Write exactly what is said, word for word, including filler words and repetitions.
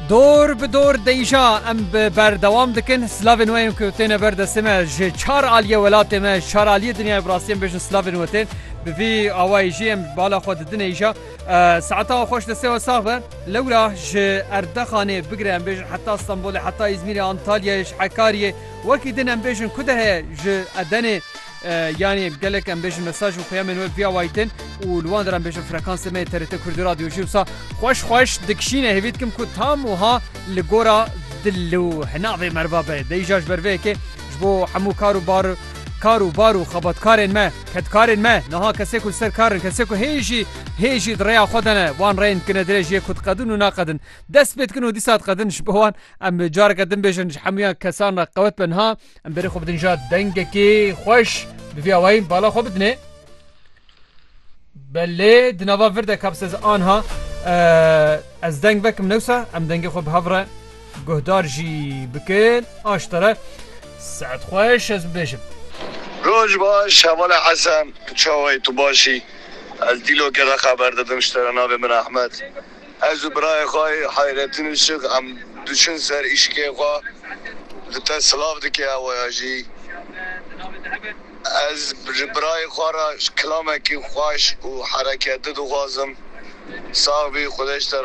Dor bi dor de îja em bi berdewam dikin. Silavên we yên ku têne ber destê me ji çar aliyê welatê me, ji çar aliyê dinyayê bi rastî em bêjin silavên we tên. Bi vî awayî jî em bala xwe didine îja. E, saeta we xweş, destê we sax be. Lewra ji Erdexanê bigire em bêjin heta Stenbolê, heta Îzmîrê, Antalyayê, ji Hekariyê. Wekî din em bêjin ku de heye ji Edenê, e, yanî gelek em bêjin mesaj û peyamên we vî awayî tên û li wan der em bêjin frekansê me yê T R T Kurdî Radyo jî wisa xweş xweş dikişîne. Hêvî dikim ku tam wiha li gora dil û hinavê merva be. De îja ji ber vê yekê ji bo hemû kar û bar, kar û bar û xebatkarên me, kedkarên me, niha kesê ku li ser kar in, kesê ku hê jî, hê jî di rêya xwe de ne, wan rêyên dikine dirêj yê ku diqedin û naqedin. Dest pê dikin û dîsa diqedin ji bo wan. Em careke din bêjin ji hemûyan kesan re qewet be niha. Em berê xwe bidin ja dengekî xweş. Bi vî awayî bala xwe bidinê. Belê, di nava vir de kap se ez anha, e, ez deng vekim newsa, em dengê xwe bi hev re guhdar jî bikin. Aştere, saet xweş ez bibêjim. Roj baş, hevala Hesen, çawayê tu başî? Ez dîlokê re xeber didim, ji te re navê min Ehmed. Ez û birayê xwe Hayrettin Işık em diçin ser îşikê xwe. Li te silav dike ewaya jî. Ez ji birayê xwe re kilamekî xweş û hereketli dixwazim. Sax bî, Xwedê ji te